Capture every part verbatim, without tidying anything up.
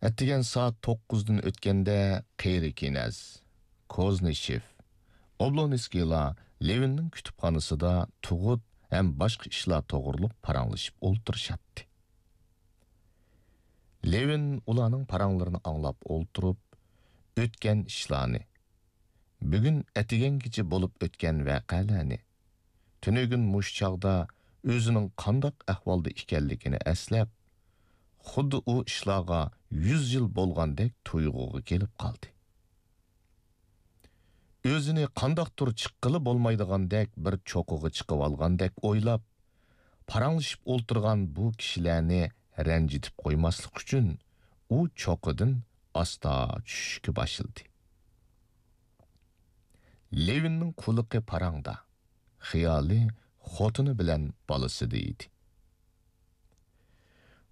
ئەتىگەن سائەت توققۇزدىن ئۆتكەندە قېرى كىنەز، كوزنىشېف، ئوبلونسكىيلار لېۋىننىڭ كۇتۇپخانىسىدا تۇغۇت ھەم باشقا ئىشلار توغرۇلۇق پاراڭلىشىپ ئولتۇرۇشاتتى. لېۋىن ئۇلارنىڭ پاراڭلىرىنى ئاڭلاپ ئولتۇرۇپ، ئۆتكەن ئىشلارنى، بۈگۈن ئەتىگەنگىچە بولۇپ ئۆتكەن ۋەقەلەرنى، تۈنۈگۈن مۇشۇ چاغدا ئۆزىنىڭ قانداق ئەھۋالدا ئىكەنلىكىنى ئەسلەپ، خۇددى ئۇ ئىشلارغا يۈز يىل بولغاندەك تۇيغۇغا كېلىپ قالدى. ئۆزىنى قانداقتۇر چىققىلى بولمايدىغاندەك بىر چوققىغا چىقىۋالغاندەك ئويلاپ، پاراڭلىشىپ ئولتۇرغان بۇ كىشىلەرنى رەنجىتىپ قويماسلىق ئۈچۈن، ئۇ چوققىدىن ئاستا چۈشۈشكە باشلىدى. لېۋىننىڭ قۇلىقى پاراڭدا، خىيالى خوتۇنى بىلەن بالىسىدا ئىدى.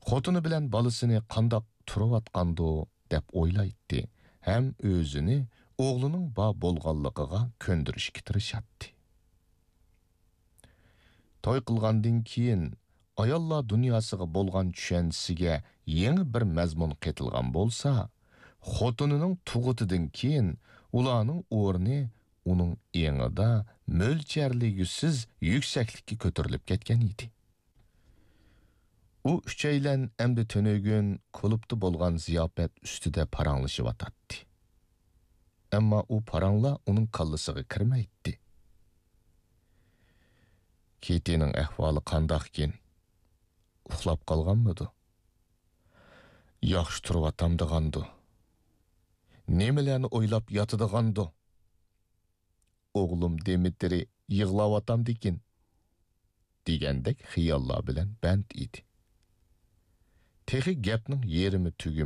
خوتۇنى بىلەن بالىسىنى قانداق تۇرۇۋاتقاندۇ دەپ ئويلايتتى ھەم ئۆزىنى ئوغلىنىڭ بار بولغانلىقىغا كۆندۈرۈشكە تىرىشاتتى. توي قىلغاندىن كېيىن ئاياللار دۇنياسىغا بولغان چۈشەنچىسىگە يېڭى بىر مەزمۇن قېتىلغان بولسا، خوتۇنىنىڭ تۇغۇتىدىن كېيىن ئۇلارنىڭ ئورنى ئۇنىڭ ئېڭىدا مۆلچەرلىگۈسىز يۈكسەكلىككە كۆتۈرۈلۈپ كەتكەن ئىدى. ئۇ ئۈچەيلەن ئەمدى تۈنۈگۈن كۇلۇبتا بولغان زىياپەت ئۈستىدە پاراڭلىشىۋاتاتتى. ئەمما ئۇ پاراڭلار ئۇنىڭ كاللىسىغا كىرمەيتتى. كېتىنىڭ ئەھۋالى قانداقكىن؟ ئۇخلاپ قالغانمىدۇ؟ ياخشى تۇرۇۋاتامدىغاندۇ؟ نېمىلەرنى ئويلاپ ياتىدىغاندۇ؟ ئوغلۇم دىمىترىي يىغلاۋاتامدىكىن، دېگەندەك خىياللار بىلەن بەند ئىدى. تېخى گەپنىڭ يېرىمى تۈگىمەي،